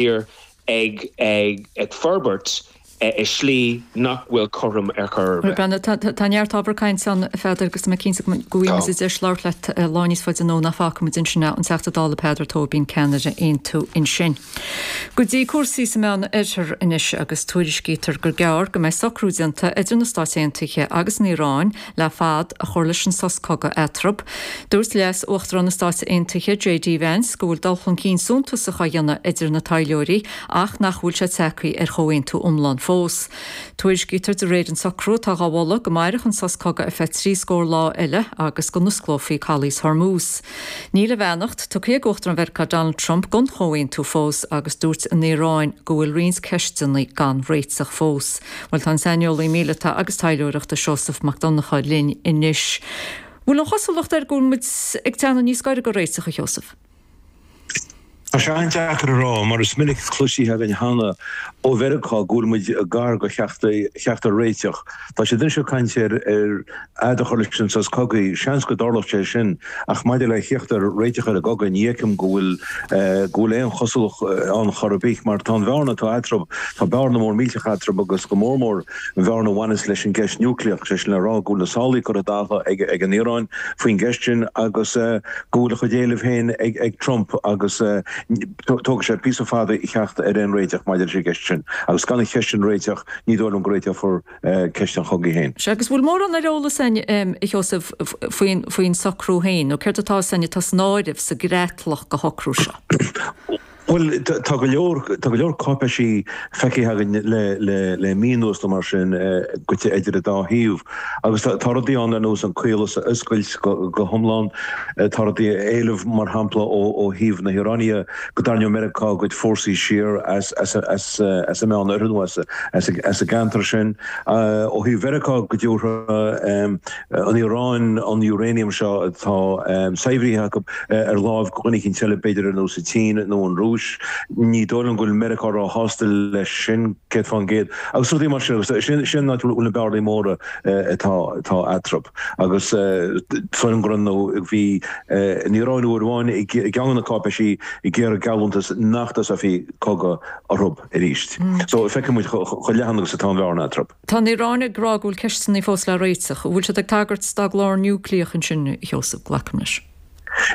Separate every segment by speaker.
Speaker 1: tír ag forbairt i slí nach bhfuil cothrom ar chor ar bith.
Speaker 2: Bhuel, tá neart ábhar cainte ann, a Pheadair, agus tá mé cinnte go bhfaighidh muid deis labhairt leat lá níos faide anonn ach fágfaidh muid ansin é, an Teachta Dála Peadar Tóibín, ceannaire Aontú ansin. Go dtí cúrsaí sa Meán Oirthear anois agus tuairiscítear gur gearr go mbeidh socrú déanta idir na Stáit Aontaithe agus an Iaráin le fad a chur leis an sos cogaidh eatarthu. Dúirt Leas-Uachtarán na Stáit Aontaithe, JD Vance, go bhfuil dul chun cinn suntasach á dhéanamh idir na taidhleoirí ach nach bhfuil sé tagtha ar chomhaontú iomlán fós. Tuairiscítear de réir an socrú atá dhá mholadh go mairfeadh an sos cogaidh ar feadh 30 scór lá eile agus go n-osclófaí calaos Hormuz. Níl a bheannacht tugtha ag Uachtarán Mheiriceá Donald Trump don chomhaontú fós agus dúirt an Iaráin go bhfuil roinnt ceisteanna gan réiteach fós. Bhuel tá an saineolaí míleata agus taidhleoireachta Seosamh Mac Donncha linn anois. Bhfuil an chosúlacht air go bhfuil muid ag teannadh níos gaire do réiteach, a Sheosaimh?
Speaker 3: Tá sé an-deacair a rá, mar is minic cloisithe againn cheana ó Mheiriceá go bhfuil muid gar do theacht ar réiteach. Tá siad anois ag caint ar fhad a chur leis an sos cogaidh. Seans go dtarlódh sé sin, ach maidir le theacht ar réiteach ar an gcogadh, ní fheicim go bhfuil go bhfuil aon chosúlacht ann chor ar bith, mar tá an bhearna atá eatarthu, tá bearna mór millteach eatarthu agus go mór mór an bhearna a bhaineas leis an gceist núicléach, sé sin le rá go bhfuil na sálaí curtha i dtaca ag an Iaráin faoin gceist sin agus go bhfuil a chuid éileamh féin ag Trump agus tógfaidh sé píosa fada theacht ar aon réiteach maidir leis an gceist sin. Agus gan an cheist sin a réiteach, ní dóigh liom go réiteofar ceist an chogaidh féin.
Speaker 2: Sea, agus bhfuil mórán ar eolas againn, a Sheosaimh, faoin socrú féin, nó céard atá san atá san áireamh sa gcreatlach de shocrú seo?
Speaker 3: Bhuel, tá go leor, tá go leor cáipéisí feicthe againn le, le, le mí anuas nó mar sin, goite idir an dá thaobh. Agus tá, tá rudaí ann ar nós an caolas a oscailt go, go hiomlán. Tá rudaí, éileamh, mar shampla, ó, ó thaobh na hIaráine go dtarraingeodh Meiriceá a gcuid fórsaí siar as, as, as, as an Meán Oirthear nó as, as, as an gceantar sin. Ó thaobh Mheiriceá go dtabharfadh an Iaráin an uranium seo atá saibhrithe acu ar láimh do dhuine eicínt eile, b'fhéidir ar nós an tSín nó an Rúis. Ní dóigh liom go bhfuil Meiriceá róshásta leis sin, 100%, agus rudaí mar sin. Agus sin an áit a bhfuil na bearnaí móra atá eatarthu. Agus is dóigh liom go raibh nó bhí an Iaráin uair amháin i gceann de na cáipéisí ag iarraidh geallúntas nach dtosófaí cogadh orthu arís. So feicfidh muid chomh leathan agus atá an bhearna eatarthu.
Speaker 2: Tá an Iaráin ag rá go bhfuil ceisteanna fós le réiteach. An bhfuil siad ag tagairt dá gclár núicléach ansin, a Sheosaimh? Glacaim leis.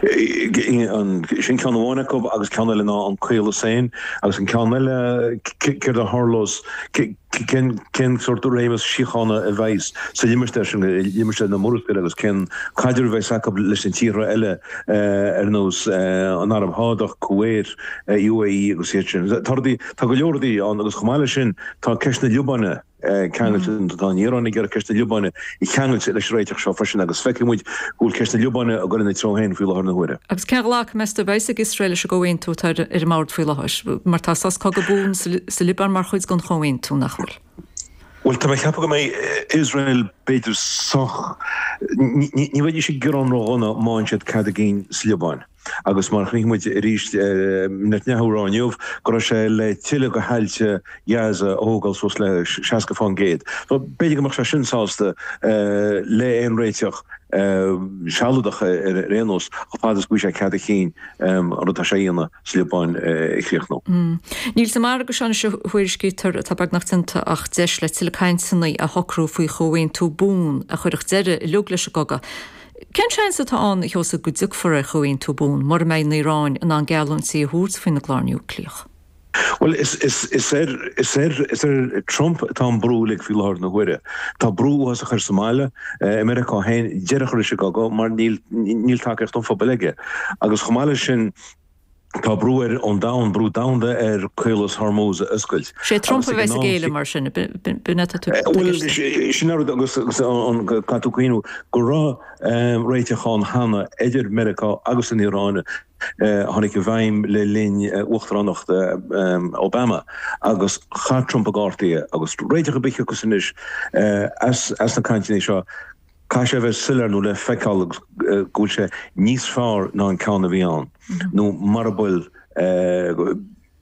Speaker 3: Sin ceann amháin acu agus ceann eile ná an caolas féin agus an ceann eile, céard a tharlós, cén sórt réimeas síochána a bheas sa limistéar sin, limistéar na Murascaille agus cén caidreamh a bheas acu leis na tíortha eile ar nós an Araib Shádach, Kuwait, UAE agus iad sin. Tá rudaí, tá go leor rudaí ann agus chomh maith leis sin, Tá ceist na Liobáine ceangailte, tá an Iaráin ag iarraidh ceist na Liobáine a cheangailt leis an réiteach seo freisin agus feicfidh muid go bhfuil ceist na Liobáine ag dul ina treo féin faoi láthair na huaire.
Speaker 2: Agus cén ghlacadh, meas tú, a bheas ag Iosrael leis an gcomhaontú atá ar an mbord faoi láthair? Mar tá sos cogaidh buan sa Liobáin mar chuid den chomhaontú, nach bhfuil?
Speaker 3: Bhuel, tá mé ag ceapadh go mbeidh Iosrael b'fhéidir sách, ní bheidís ag gearán ródhona má fhaigheann siad cead a gcinn sa Liobáin. Agus mar a chonaic muid arís Netanyahu ag rá inniu go raibh sé le tuilleadh de thailte Ghaza a thógáil suas le 60%. So b'fhéidir go mbeadh sé sin sásta le aon réiteach sealadach ar aon nós chomh fada is go bhfaighidh sé cead a chinn an rud atá sé a dhéanamh sa Liobáin a chríochnú.
Speaker 2: Níl sa mhargadh seo anois a thuairiscítear atá beagnach déanta ach deis le tuilleadh cainteanna a shocrú faoi chomhaontú buan a chuirfeadh deireadh uilig leis an gcogadh. Cén seans atá ann, a Sheosaimh, go dtiocfar ar chomhaontú buan mura mbeidh an Iaráin in ann geallúintí a thabhairt faoina gclár núicléach?
Speaker 3: Bhuel, is ar, is ar, is ar Trump atá an brú uilig faoi láthair na huaire. Tá brú uafásach air sa mbaile, i Meiriceá féin, deireadh a chur leis an gcogadh mar níl, níl tacaíocht an phobail aige. Agus chomh maith leis sin, Tá brú air ón domhan, brú domhanda air Caolas Hormuz a oscailt.
Speaker 2: Sé Trump a bheas ag géilleadh mar sin, b'in atá tú ag
Speaker 3: Bhuel, sin an rud agus caithfidh tú cuimhniú go raibh réiteach ann cheana idir Meiriceá agus an Iaráin a tháinig i bhfeidhm le linn uachtaránacht Obama agus chaith Trump i gcártaí é agus réiteach ar bith a thiocfas anois as na cainteanna seo, Caithfidh sé a bheith soiléir nó le feiceáil go bhfuil sé níos fearr ná an ceann a bhí ann, nó mara bhfuil,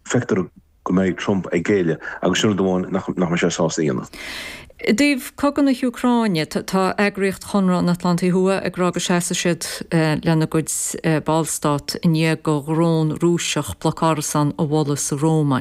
Speaker 3: feictear go mbeidh Trump ag géilleadh agus sin rud amháin nach mbeidh sé sásta a dhéanamh.
Speaker 2: I dtaobh cogadh na hÚcráine, tá eagraíocht Chonradh an Atlantaigh Thuaidh ag rá go seasfaidh siad lena gcuid ballstát i ndiaidh do dhrón Rúiseach bloc árasán a bhualadh sa Rómáin.